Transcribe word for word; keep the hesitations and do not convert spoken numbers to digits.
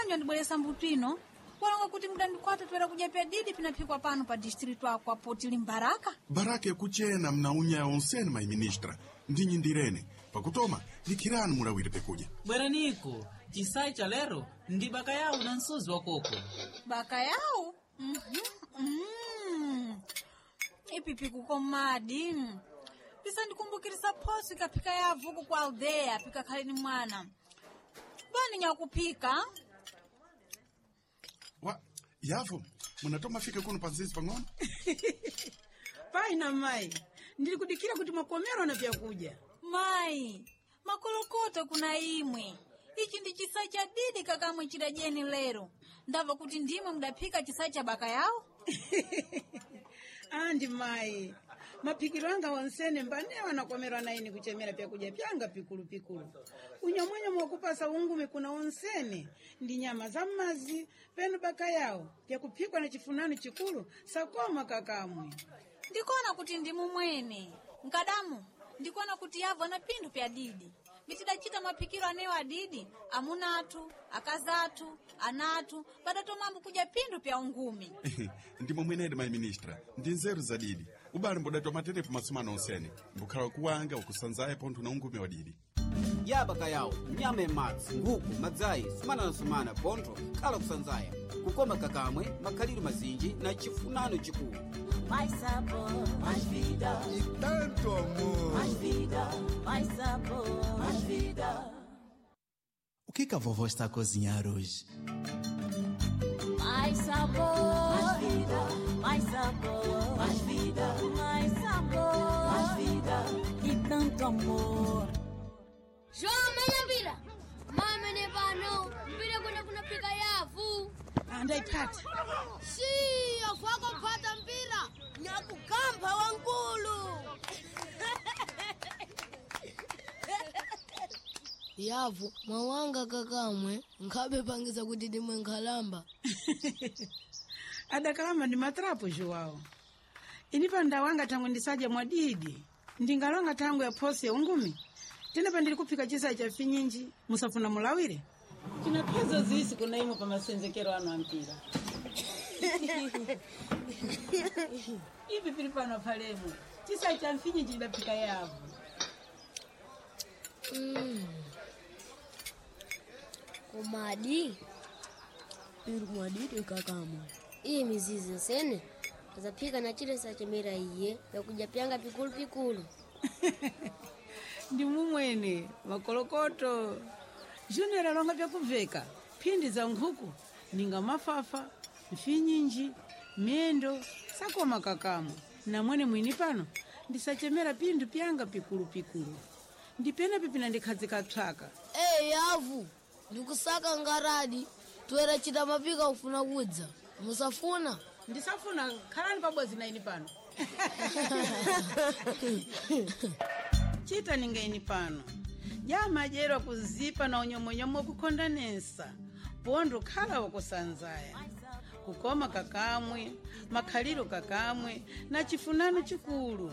Bwanji wandibweresa mbuto ino walonga kuti mudandikwata toera kudya pyadidi pinaphikwa pano pa distritu ako apo tili mbaraka. Baraka yakuchena mnaunya onsene mayiministra ndinyindirene pakutoma likhirani mulawire pekudya. Bweraniko chisayi cha lero ndi baka yawo na msuzi wa koko. Baka yawo, mhm, mm. Ipipi kukomadi, pisandikumbukirisa phoso ikaphika yavuku ku aldeya pikakhale ni mwana bwani nyakuphika. Wa yavo munatoma fika kuno panzizi pang'ono. Pai na mai, ndili kudikira kuti mwakomerwa na vyakudya. Mayi, makolokota kuna imwe ichi ndi chisa cha didi kakamwe chidajeni lero ndamva kuti ndimwe mudaphika chisa cha baka yawo. Andi mayi, maphikiro anga onsene mbanewa nakomerwa na ine kuchemera vyakudya pyanga pikulupikulu. Unyamwenye mwakupasa ungumi kuna onsene ndi nyama za mmazi penu baka yawo vyakuphikwa na chifunano chikulu sakoma kakamwe. Ndikuona kuti ndimu mwene nkadamu, ndikuona kuti yavo ana phindu pya didi mitidachita maphikiro anewo adidi amuna athu, akazi athu, ana athu padatomambo kudya phindu pya ungumi. Ndimo mwenedi mayiministra ndi nzeru zadidi ubale mbudatoma tetepo masumano onsene mbukhala kuwanga ukusanzaye pontho na ungumi wa didi. Yabaka yawo nyama yamadzi, nkhuku, madzayi, sumana na sumana pontho khala kusanzaya kukoma kakamwe makhaliro mazinji na chifunano chikulu. Mais sabor, mais vida. E tanto amor. Mais vida, mais sabor, mais vida. O que que a vovó está a cozinhar hoje? Mais sabor, mais vida, mais sabor, mais vida, mais sabor, mais vida e tanto amor. João, mpira! Mame ne pano, mpira kuna kunapika yavu. Andaipata. Siyo, fwako kupata mpira. Nyakugamba wankulu. Yavu mwawanga kakamwe nkhabe pangiza kuti dimwe nkhalamba. Adakalamba ndi matrapo Joao. Ini pa ndawanga thangu ndisadya mwadidi. Ndingalonga thangu ya phoso ya ungumi. Tena pandili kuphika chisayi cha finyinji musafuna mulawire. Tina phezo zisi kuna imwe pa masenzekero anu ampira. Ivi pili pano palemo. Chisayi cha mfinyinji chidaphika yavu. Mm. Komadi iri mwadidi kakamwe iyi mizizi nsene azaphika na chile sachemera iye yakudya pyanga pikulupikulu. Ndi mumwene makolokoto Junior alonga vyakuveka phindi za nkhuku ninga mafafa mfinyinji miyendo sakoma kakamwe namwene mwini pano ndisachemera phindu pyanga pikulupikulu ndipena pipina ndikhazika psaka. Ee yavu ndikusaka ngaradi toera chita mapika kufuna kudza musafuna. Ndisafuna khalani pabodzi na ini pano. Chita ninga ini pano jamadyerwa kuzipa na unyomwenyomo kukhondanesa pondo khala wakusanzaya kukoma kakamwe makhaliro kakamwe na chifunano chikulu.